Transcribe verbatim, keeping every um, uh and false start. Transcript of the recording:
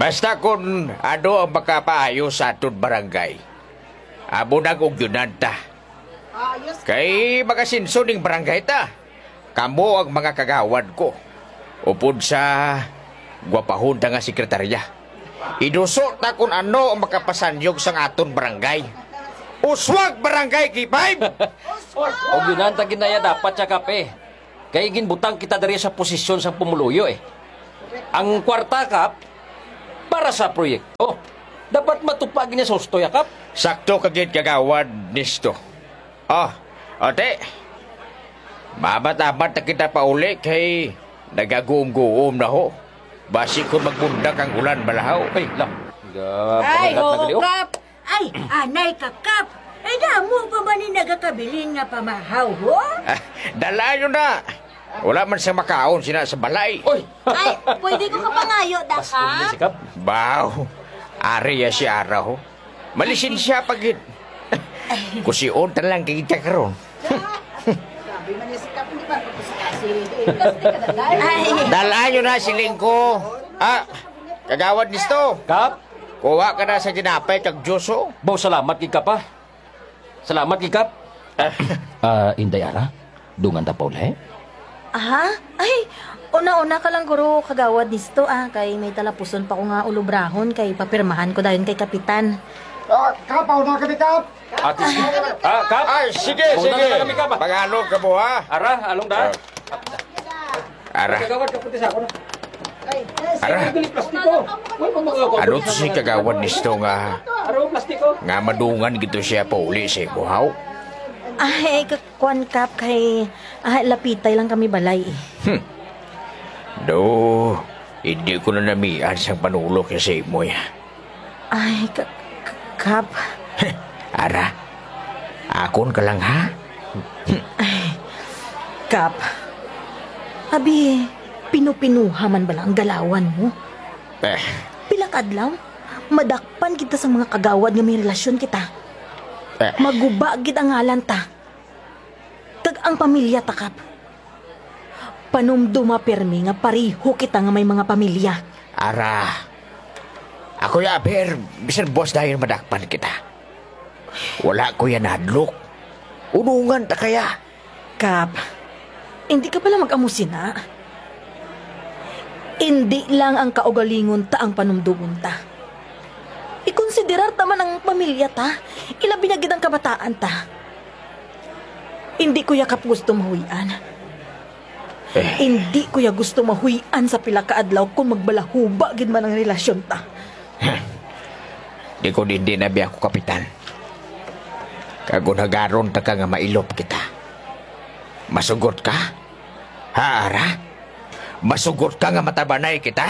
Basta kun ano ang makapaayo sa aton barangay, amo nang ugyonan ta. Kay magasinso ning barangay ta. Kamo ang mga kagawad ko. Upod sa gwapahon ta nga sekretarya. Iduso ta kun ano ang makapasanyog sang aton barangay. Uswag Barangay K five! Ugyonan ta ginaya dapat siya, Kap, eh. Kay ginbutang kita diri sa posisyon sang pumuluyo, eh. Ang kwarta, Kap, para sa proyekto. Dapat matupag niya sa husto ya, Kap. Sakto ka gid, Kagawad Nisto. Oh, ate. Mamat-amat na kita pauli kay nagaguom-guom na ho. Basi kung magbundak ang ulan balahaw. Ay, lang. Ay, Gapahilat na oo, gali, oh. Kap. Ay, anay ka, Kap. Ay, damo pa man ni nagakabilin nga pamahaw, ho? Ah, dala nyo na. Wala man siya makaon sina sa balay. Oy! Ay, pwede ko kapangayo, da, Mas kumli si Kap. Kap? Baw, ari ya si Ara, ho. Malisin siya pag Kusion ta lang kay kita karon. Grabe man niya si Kap, hindi ba? Kasi, kasi, Ay. Dala nyo na, siling ko. Ah, Kagawad Nisto. Kap? Kuha ka na sa tinapay kag juice, oh. Baw, salamat gid, Kap, ah. Salamat gid, Kap. Ah, Inday Ara, dungan ta pa uli? Aha? Ay, una-una ka lang, guro, Kagawad Nisto, ah, kay may talapuson pa ko nga ulobrahon kay papirmahan ko dayon kay Kapitan. Ah, Kap, pauna kami, Kap. Ate, si-, ah, Kap? Ay, sige, Mauna sige. na kami, Kap, ah. Mag-alog ka mo, ha? Ara, along da. Ah. Ara. Kagawad, kapunti sa ako na. Ara. Ay, dali, plastiko. Uy, pamangako. Ano to si Kagawad Nisto nga, Aro, plastiko. nga madungan gito siya pauli sa imo, haw? Ay, ka-, kwan, Kap, kay, ah, lapitay lang kami balay, eh. Hmm. Do, hindi ko na namian sang panulok sa imo, ya. Ay, ka-, ka-, Kap. Ara, akon ka lang, ha? Ay, Kap. Abi, pinupinuha man bala ang galawan mo? Eh. Pila ka adlaw, madakpan kita sa mga kagawad nga may relasyon kita. Eh. Maguba gid ang ngalan ta. Kag ang pamilya ta, Kap. Panumduma pirmi nga pareho kita nga may mga pamilya. Ara, ako ya, aber, bisan buwas dayon madakpan kita. Wala ko ya nahadlok. Unungan ta kaya. Kap, hindi ka pala mag-amo sina. Hindi lang ang kaugalingon ta ang panumdumon ta. Ikonsiderar ta man ang pamilya ta, ilabi na gid ang kabataan ta. Hindi ko ya, Kap, gusto mahuy-an. Eh. Hindi ko ya gusto mahuy-an sa pila ka adlaw kung magbalahuba gid man ang relasyon ta. Di ko din din abi ako, Kapitan. Kag unhagaron ta ka nga mailop kita. Masugot ka? Ha, Ara? Masugot ka nga matabanay kita?